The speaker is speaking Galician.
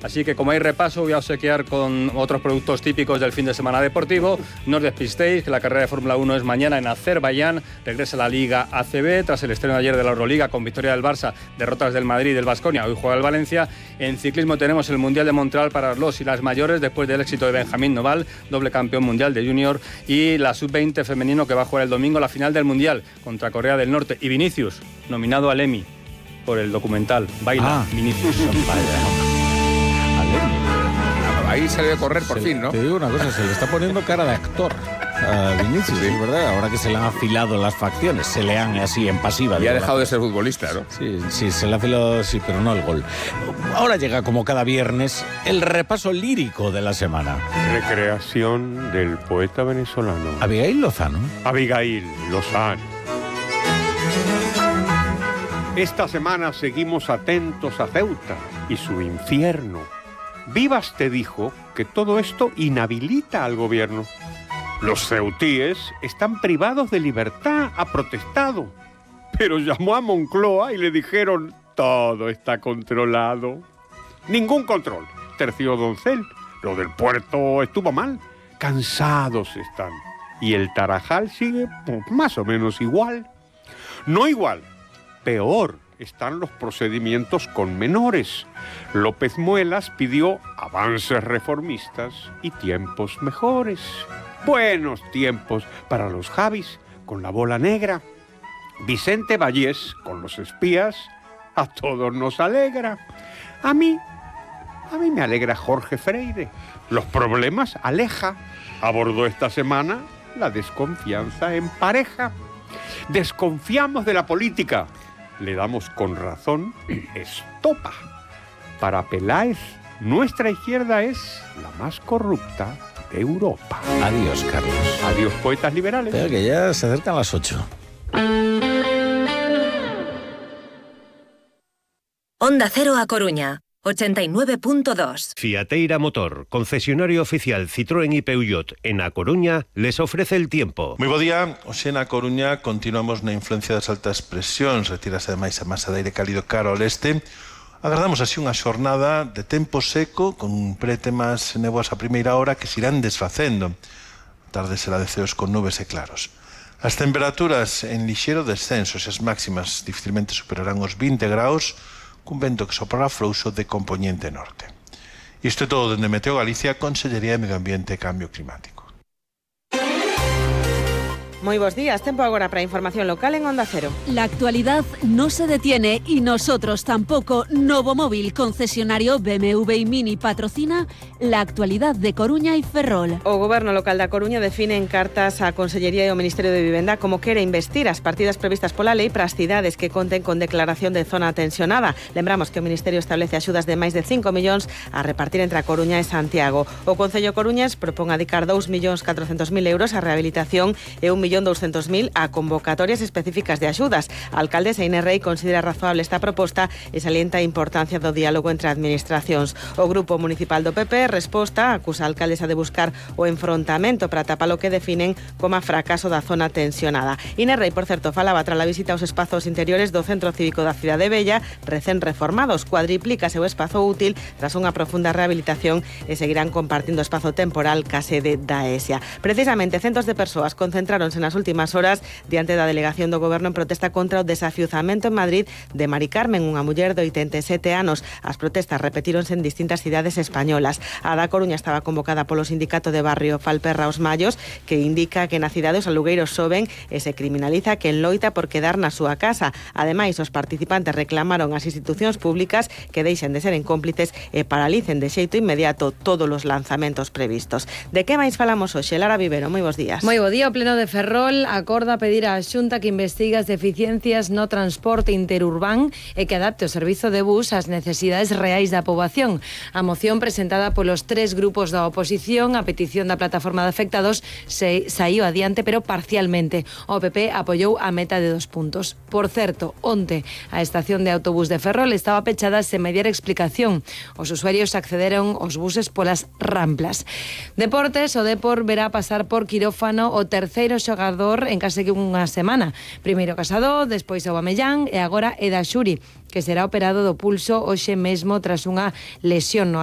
Así que como hay repaso, voy a obsequiar con otros productos típicos del fin de semana deportivo. No os despistéis, que la carrera de Fórmula 1 es mañana en Azerbaiyán. Regresa la Liga ACB tras el estreno de ayer de la Euroliga con victoria del Barça, derrotas del Madrid y del Baskonia. Hoy juega el Valencia. En ciclismo tenemos el Mundial de Montreal para los y las mayores después del éxito de Benjamín Noval, doble campeón mundial de junior, y la sub-20 femenino que va a jugar el domingo la final del Mundial contra Corea del Norte. Y Vinicius, nominado al Emmy por el documental Baila, Vinicius. Ahí salió a correr por fin, ¿no? Te digo una cosa, se le está poniendo cara de actor a Vinicius, sí, ¿verdad? Ahora que se le han afilado las facciones, se le han así en pasiva. Y ha dejado de ser futbolista, ¿no? Sí, se le ha afilado, sí, pero no el gol. Ahora llega, como cada viernes, el repaso lírico de la semana. Recreación del poeta venezolano Abigail Lozano. Abigail Lozano. Esta semana seguimos atentos a Ceuta y su infierno. Vivas te dijo que todo esto inhabilita al gobierno. Los ceutíes están privados de libertad, ha protestado. Pero llamó a Moncloa y le dijeron, todo está controlado. Ningún control, terció Doncel. Lo del puerto estuvo mal. Cansados están. Y el Tarajal sigue más o menos igual. No igual, peor. Están los procedimientos con menores. López Muelas pidió avances reformistas y tiempos mejores. Buenos tiempos para los Javis con la bola negra. Vicente Vallés con los espías. A todos nos alegra. A mí me alegra Jorge Freire. Los problemas aleja. Abordó esta semana la desconfianza en pareja. Desconfiamos de la política. Le damos con razón estopa. Para Peláez, nuestra izquierda es la más corrupta de Europa. Adiós, Carlos. Adiós, poetas liberales. Espera, que ya se acercan las 8. Onda Cero A Coruña, 89.2. Fiateira Motor, concesionario oficial Citroën y Peugeot en A Coruña, les ofrece el tiempo. Moi bo día, hoxe na Coruña continuamos na influencia das altas presións, retírase ademais a masa de aire cálido cara ao leste. Agardamos así unha xornada de tempo seco con prétemas nevoas a primeira hora que se irán desfacendo. A tarde será de ceos con nubes e claros. As temperaturas en lixeiro descenso, as máximas dificilmente superarán os 20 graus, cun vento que soprará frouxo de compoñente norte. Isto é todo dende Meteo Galicia, Consellería de Medio Ambiente e Cambio Climático. Muy buenos días, tiempo ahora para información local en Onda Cero. La actualidad no se detiene y nosotros tampoco. Novo Móvil, concesionario BMW y Mini, patrocina la actualidad de Coruña y Ferrol. O Goberno local da Coruña define en cartas a Consellería e ao Ministerio de Vivenda como quere investir as partidas previstas pola lei para as cidades que conten con declaración de zona tensionada. Lembramos que o Ministerio establece axudas de máis de 5 millóns a repartir entre a Coruña e Santiago. O Concello Coruñés propón adicar 2.400.000 euros a rehabilitación e 1.200.000 a convocatorias específicas de axudas. A alcaldesa Inés Rei considera razoable esta proposta e salienta a importancia do diálogo entre administracións. O Grupo Municipal do PP resposta acusa a alcaldesa de buscar o enfrontamento para tapar o que definen como a fracaso da zona tensionada. Inés Rei, por certo, falaba tras a visita aos espazos interiores do Centro Cívico da Cidade Bella, recén reformados. Cuadriplícase o espazo útil tras unha profunda rehabilitación e seguirán compartindo espazo temporal ca sede da ESIA. Precisamente, centos de persoas concentráronse nas últimas horas diante da delegación do Goberno en protesta contra o desafiuzamento en Madrid de Mari Carmen, unha muller de 87 anos. As protestas repetíronse en distintas cidades españolas. A da Coruña estaba convocada polo sindicato de barrio Falperra Os Mallos, que indica que na cidade os alugueiros soben e se criminaliza quen loita por quedar na súa casa. Ademais, os participantes reclamaron ás institucións públicas que deixen de seren cómplices e paralicen de xeito inmediato todos os lanzamentos previstos. De que máis falamos hoxe? Lara Vivero, moi bons días. Moi bo día. O Pleno de Ferrol acorda pedir á Xunta que investigue as deficiencias no transporte interurbán e que adapte o servizo de bus ás necesidades reais da poboación. A moción presentada polos tres grupos da oposición a petición da plataforma de afectados saíu adiante, pero parcialmente. O PP apoiou a meta de 2 puntos. Por certo, onte a estación de autobús de Ferrol estaba pechada sen mediar explicación. Os usuarios accederon aos buses polas ramplas. Deportes, o Depor verá pasar por quirófano o terceiro xogador xogador en case que unha semana. Primeiro Casado, despois Aubameyang e agora Eda Xuri, que será operado do pulso hoxe mesmo tras unha lesión no